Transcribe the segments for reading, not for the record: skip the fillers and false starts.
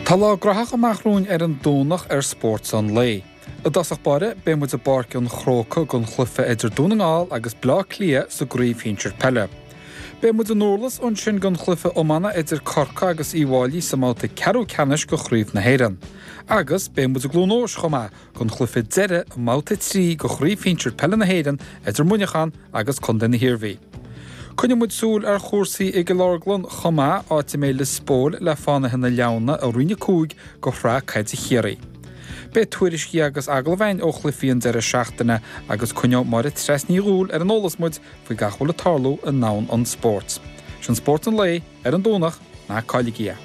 Tá lá graitheach amach romhainn ar an Domhnach ar Spórt an Lae. I dtosach báire, beidh muid i bPáirc an Chrócaigh don chluiche idir Dún na nGall agus Baile Átha Cliath sa gCraobh Shinsir Peile. Beidh muid i nDurlas ansin don chluiche iomána idir Corcaigh agus Uíbh Fháilí sa mbabhta ceathrú ceannais de Chraobh na hÉireann. Agus beidh muid i gCluain Eois chomh maith don chluiche deiridh i mbabhta 3 de Chraobh Shinsir Peile na hÉireann idir Muineachán agus Contae na hIarmhí. Coinneoidh muid súil ar chúrsaí i gCill Orglan chomh maith, áit a mbeidh Lios Póil le Fánaithe na Leamhna i Roinn 5 de Shraith Caide Chiarraí. Beidh tuairiscí agus agallaimh againn ó chluichí an deireadh seachtaine agus coinneoidh Máire Treasa Ní Dhubhghaill ar an eolas muid faoi gach a bhfuil ag tarlú i ndomhan an spóirt. Sin Spórt an Lae ar an Domhnach, ná cailligí é!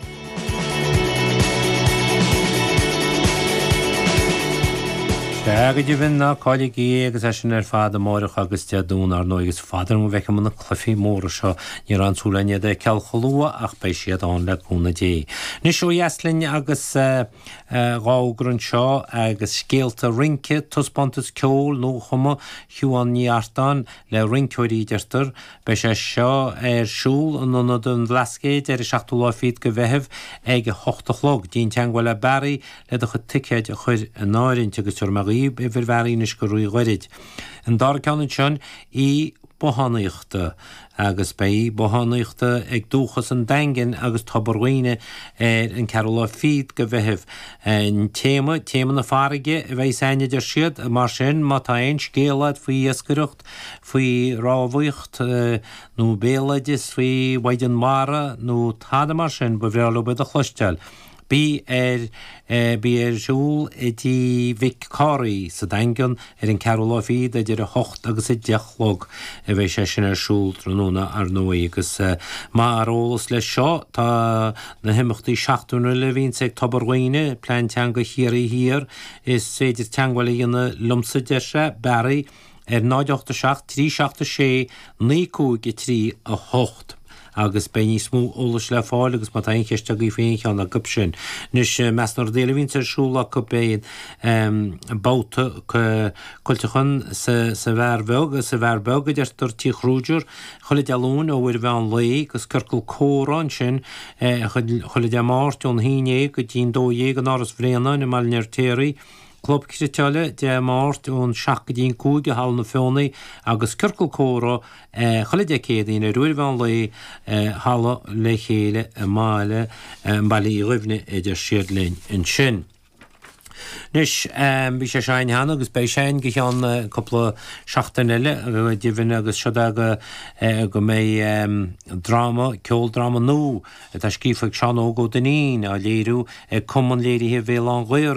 Sea, go deimhin, ná cailligí é agus é sin ar fad amáireach agus Dé Domhnaigh, ar ndóigh. Is fada go bhfeicfidh muid na cluichí móra seo. Ní raibh aon tsúil againn iad a fheiceáil chomh luath ach beidh siad ann le cúnamh Dé. Anois ó dheas linn agus dhá fhógra anseo agus scéalta rince, taispeántas ceoil nuachumtha Shiubhán Ní Artáin le rinceoirí, a deirtear. Beidh sé seo ar siúl in Ionad an Bhlascaoid ar an seachtú lá fichead de Mheitheamh ag a hocht a chlog. Déan teagmháil le Barry le do chuid ticéid a chur in áirithint agus tabharfaidh mé dhaoibh uimhir Bharry anois go ríghairid. An dara ceann ansin, Oíche Bothánaíochta agus beidh oíche Bothánaíochta ag Dúchas an Daingin agus Tobar Dhuibhne ar an ceathrú lá fichead de Mheitheamh. An téama, téama na farraige a bheidh againn a deir siad, mar sin má tá aon scéal agat faoi iascaireacht, faoi rámhaíocht nó béaloideas faoi mhaighdean mhara nó tada mar sin, ba bhreá leo iad a chloisteáil. Bí ar bí ar siúl i dTigh Mhic Cárthaigh sa Daingean ar an ceathrú lá fichead idir 8 agus 10 a chlog a bheidh sé sin ar siúl tráthnóna ar ndóigh agus mar eolas leis seo tá na himeachtaí seachtainiúla a bhíonns ag Tobar Dhuibhne, Plean Teanga Chiarraí Thiar, is féidir teagmháil a dhéanamh liomsa deir sé, Barry, ar 0 8 7 3 7 6 9 5 3 8 agus beidh níos mó eolais le fáil agus má tá aon cheist agaibh faoi aon cheann acu sin. Anois, measc na rudaí eile a bhíonns ar siúl acu beidh babhta cuilteacháin sa bheár bheag, sa bheár beag a deirtear Tigh Kruger, chuile Dé Luain ó uair an mheán lae agus ciorcal comhrá ansin chuile Dé Máirt ón haon dhéag go dtí'n dó dhéag in Áras Bhréanainn i mBaile an Fheirtéaraigh. Club Cniotála Dé Máirt ón 7 go dtí an 5 i Halla na Feothanaí agus Ciorcal Comhrá chuile Dé Céadaoin ar uair an mheán lae i Halla Le Chéile i mBaile Mbaile Uí Dhuibhne a deir siad linn ansin. Anois, bhí sé seo againn cheana agus beidh sé againn go cheann cúpla seachtain eile go deimhin agus seo é go go mbeidh dráma, ceoldráma nua atá scríofa ag Seán Óg Ó Duinnín á léiriú ag Cumann Léirithe Bhéal Átha'n Ghaorthaidh.